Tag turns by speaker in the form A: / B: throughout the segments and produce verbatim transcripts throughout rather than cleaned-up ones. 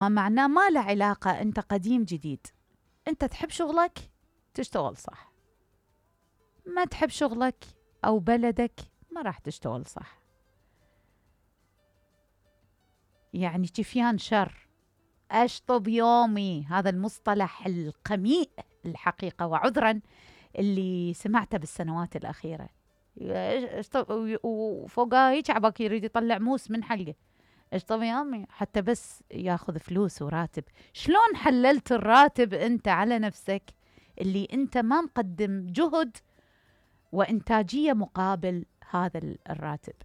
A: ما معناه ما له علاقة أنت قديم جديد. أنت تحب شغلك تشتغل صح، ما تحب شغلك أو بلدك ما راح تشتغل صح. يعني جفيان شر، أشطب يومي، هذا المصطلح القميء الحقيقة وعذرا اللي سمعته بالسنوات الأخيرة. وفوقها هيك عباك يريد يطلع موس من حلقه. اشطب يومي حتى بس ياخذ فلوس وراتب. شلون حللت الراتب أنت على نفسك اللي أنت ما مقدم جهد وإنتاجية مقابل هذا الراتب؟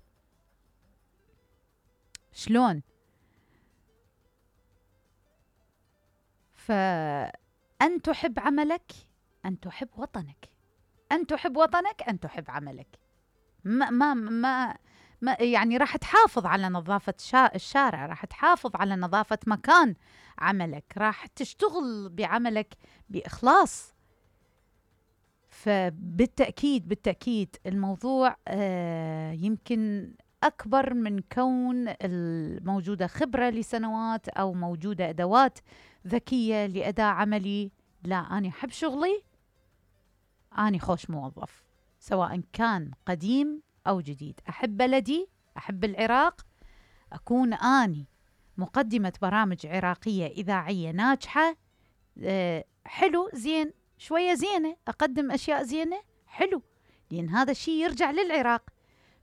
A: شلون؟ فأن تحب عملك، أن تحب وطنك، أن تحب وطنك، أن تحب عملك. ما ما ما, ما يعني راح تحافظ على نظافة الشارع، راح تحافظ على نظافة مكان عملك، راح تشتغل بعملك بإخلاص. فبالتأكيد بالتأكيد الموضوع آه يمكن أكبر من كون الموجودة خبرة لسنوات أو موجودة أدوات ذكية لأداء عملي. لا، أنا أحب شغلي، أنا خوش موظف، سواء كان قديم أو جديد. أحب بلدي، أحب العراق، أكون أني مقدمة برامج عراقية إذاعية ناجحة. أه حلو، زين، شوية زينة، أقدم أشياء زينة، حلو، لأن هذا الشيء يرجع للعراق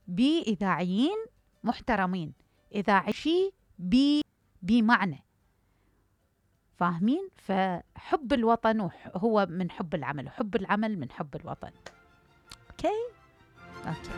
A: بإذاعيين محترمين، إذاعي بي بمعنى، فاهمين؟ فحب الوطن هو من حب العمل، وحب العمل من حب الوطن. أوكي؟ أوكي.